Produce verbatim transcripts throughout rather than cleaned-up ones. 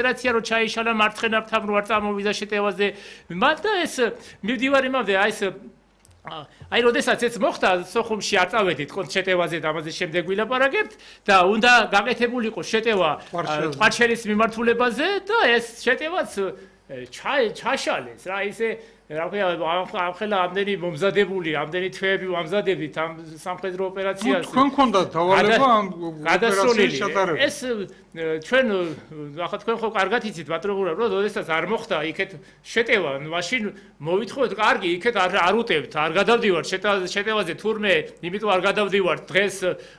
ოპერაცია რო ჩაიშალა მარცხენებთან რო არ წამოვიდა შეტევაზე მათ და ეს მივდივარ იმამდე აი ეს აი როდესაც ეს მოხდა სოხუმში არ წავედით კონ შეტევაზე და ამაზე შემდეგ ვილაპარაკებთ და უნდა გაკეთებულიყო შეტევა ტყვარჩელის მიმართულებაზე და ეს შეტევაც ჩაშალეს რა ისე რა ქვია ახლა ამდენი მომზადებული ამდენი თვეები ვამზადებით ამ სამხედრო ოპერაციას თქვენ გქონდათ დავალება ამ ოპერაციის ჩატარება ეს ჩვენ ახლა თქვენ ხო კარგად იცით პატრონურა რომ როდესაც არ მოხდა იქეთ შეტევა მაშინ მოვითხოვეთ კარგი იქეთ არ არ უტევთ არ გადავდივართ შეტევაზე თურმე იმიტომ არ გადავდივართ დღეს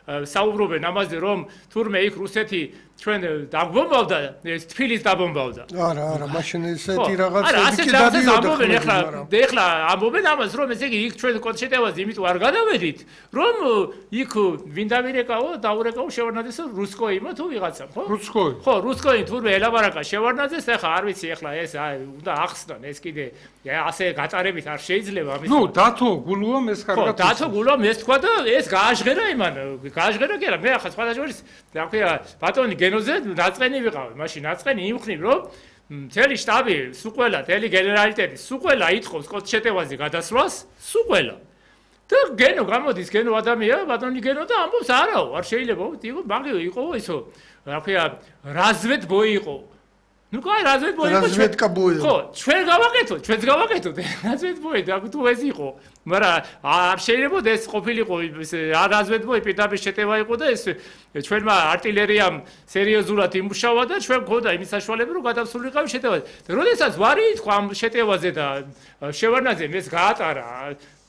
საუბრობენ ამაზე რომ თურმე იქ რუსეთი ჩვენ დაბომბავდა ეს თბილისს დაბომბავდა არა არა მაშინ ესეთი რაღაც არა ასე რაღაცა ამბობენ ეხლა ეხლა ამბობენ ამას რომ ესე იგი იქ ჩვენ კონცერტებაზე იმიტომ არ გადავედით რომ იქ ვინ დავირეკაო დაურეკაო შევარნაძეს რუსკოიმო თუ ვიღაცამ ხო რუსკოი ხო რუსკოი თურმე ელაბარაკა შევარნაძეს ეხლა არ ვიცი ეხლა ეს უნდა ახსნან ეს კიდე ასე გაწარებით არ შეიძლება ამის ნუ დათო გულუამ ეს კარგად ხო დათო გულუამ ეს თქვა და ეს გააჟღერა იმან გააჟღერა კი არა მე ახლა სხვა შორის რა ქვია ბატონი გენოზე დაწყენი ვიყავი მაშინ დაწყენი იმხნი რომ მთელი штаბი სუყველა თელი გენერალიტეტი სუყველა ითხოვს კონცერტებაზე გადასვლას სუყველა და გენო გამოდის გენო ადამია ბატონი გენო და ამბობს არაო არ შეიძლება იყო მაგ იყო ისო რა ქვია რაზვედ ბოი იყო ну кай развед бой разведка бой ხო ჩვენ გავაკეთოთ ჩვენც გავაკეთოთ развед бой და თუ ეს იყო მაგრამ არ შეიძლება ეს ყოფილიყო არ развед бой პირდაპირ შეტევა იყო და ეს ჩვენმა артиლერიამ სერიოზულად იმუშავა და ჩვენ გქონდა იმის საშუალება რომ გადავსულიყავი შეტევაზე და როდესაც ვარი თქვა ამ შეტევაზე და შევარნაძემ ეს გაატარა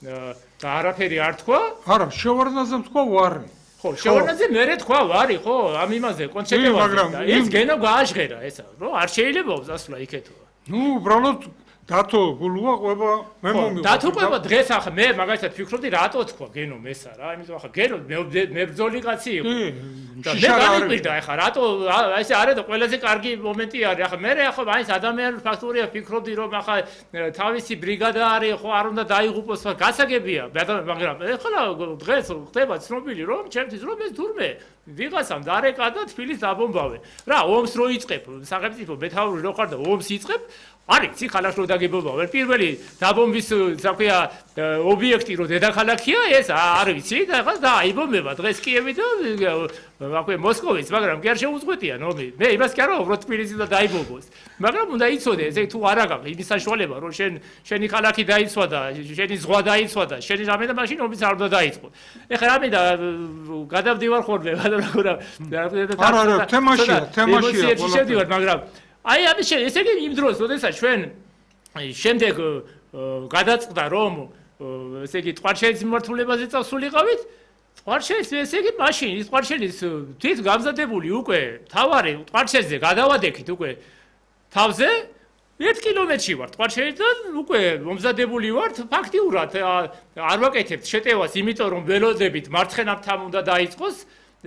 და არაფერი არ თქვა არა შევარნაძემ თქვა ვარი ხო შევარნაძე მერე თქვა ვარი ხო ამ იმაზე კონცერტებაზე და ეს გენო გააჟღერა ესა რომ არ შეიძლება დასვლა იქეთო ნუ უბრალოდ დათო გულუა ყვება მე მომიყვება დათო ყვება დღეს ახლა მე მაგალითად ფიქრობდი რატო თქვა გენო მესა რა იმიტომ ახლა გენო მებრძოლი კაცი იყო და მე განიკვირდა ახლა რატო ესე არა და ყველაზე კარგი მომენტი არის ახლა მე ახლა მაინც ადამიანური ფაქტორია ფიქრობდი რომ ახლა თავისი ბრიგადა არის ხო არ უნდა დაიღუპოს გასაგებია მაგრამ ახლა დღეს ხდება ცნობილი რომ ჩემთვის რომ ეს თურმე ვიღაცამ დარეკა და თბილისს დაბომბავენ რა ომს რო იწყებ სახელმწიფო მეთაური რო ხარ და ომს იწყებ არის ცი ხალხს რო დაგებობავენ პირველი დაბომბვის საქმეა ობიექტი რო დედაქალაქია ეს არ ვიცი და ახლა დააიბომება დღეს კიევი და აკვე მოსკოვიც მაგრამ კი არ შეუწყვეტია ნომი მე იმას კი არ ვაუბრობ თბილისი და დაიბომბოს მაგრამ უნდა იცოდე ესე თუ არ აგაქვს იმის საშუალება რომ შენ შენი ხალხი დაიცვა და შენი ზღვა დაიცვა და შენი რამე და მაშინ ომიც არ უნდა დაიწყო ეხლა რამე და გადავდივარ ხოლმე მაგრამ არა არა თემაშია თემაშია შევდივარ მაგრამ აი ამის ესე იგი იმ დროს როდესაც ჩვენ შემდეგ გადაწყდა რომ ესე იგი ტყვარჩელის მიმართულებაზე წავსულიყავით ტყვარჩელის ესე იგი მაშინ ის ტყვარჩელის თვით გამზადებული უკვე თავარი ტყვარჩელზე გადავადექით უკვე თავზე ერთ კილომეტრში ვარ ტყვარჩელიდან უკვე მომზადებული ვართ ფაქტიურად არ ვაკეთებთ შეტევას იმიტომ რომ ველოდებით მარცხენებთან უნდა დაიწყოს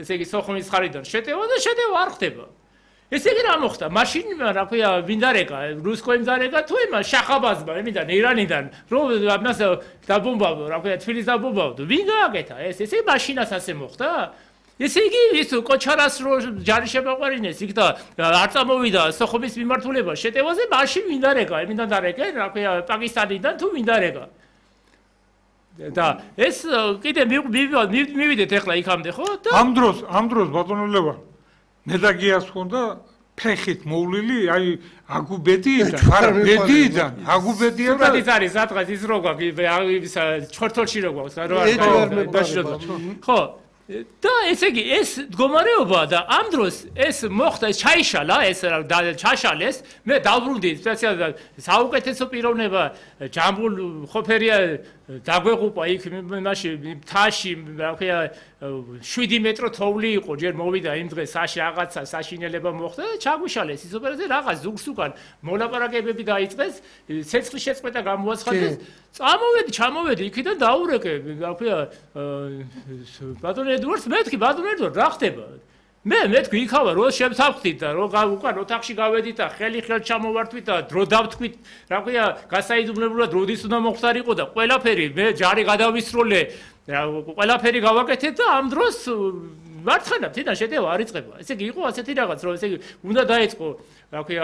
ესე იგი სოხუმის ხარიდან შეტევა და შეტევა არ ხდება ესე იგი რა მოხდა? მაშინ რა ქვია, ვინ დარეკა? რუსკოიმ დარეკა თუ იმა შახაბაზმა, იმიდან ირანიდან, რომ ამას დაბომბავდა, რა ქვია, თბილისს დაბომბავდა. ვინ გააკეთა ეს? ესე მაშინაც ასე მოხდა? ესე იგი ის კოჩარას რო ჯარი შემაყვარინეს იქ და არ წამოვიდა სოხუმის მიმართულება შეტევაზე, მაშინ ვინ დარეკა? იმიდან დარეკა, რა ქვია, პაკისტანიდან თუ ვინ დარეკა? და ეს კიდე მივიდეთ ახლა იქამდე, ხო? ამ დროს, ამ დროს ბატონო ლევან მე და გიას ხონდა ფეხით მოვლილი, აი აგუბედიიდან, არა ბედიიდან, აგუბედია და ის არის სადღაც ის რო გვაქვს, ჩხორთოლში რო გვაქვს, რა არის. ხო, და ესე იგი ეს მდგომარეობა და ამ დროს ეს მოხდა, ეს ჩაიშალა, ეს ჩაშალეს, მე დავბრუნდი სპეციალურად საუკეთესო პიროვნება ჯამბულ ხოფერია დაგვეღუპა იქ მაშინ მთაში რა ქვია შვიდი მეტრო თოვლი იყო ჯერ მოვიდა იმ დღეს საში რაღაცა საშინელება მოხდა და ჩაგვიშალეს ის ოპერაცია რაღაც ზურგს უკან მოლაპარაკებები დაიწყეს ცეცხლის შეწყვეტა გამოაცხადეს წამოვედი ჩამოვედი იქიდან დაურეკე რა ქვია ბატონ ედვარდს მეთქი ბატონ ედვარდ რა ხდება მე მეთქვი იქავა რო შემსავხდით და რო უკან ოთახში გავედით და ხელი ხელ ჩამოვართვით და დრო დავთქვით რა ქვია გასაიძულებლად როდის უნდა მოხდარიყო და ყველაფერი მე ჯარი გადავისროლე ყველაფერი გავაკეთეთ და ამ დროს მარცხენა თვითონ შეტევა არ იწყება ესე იგი იყო ასეთი რაღაც რომ ესე იგი უნდა დაიწყო რა ქვია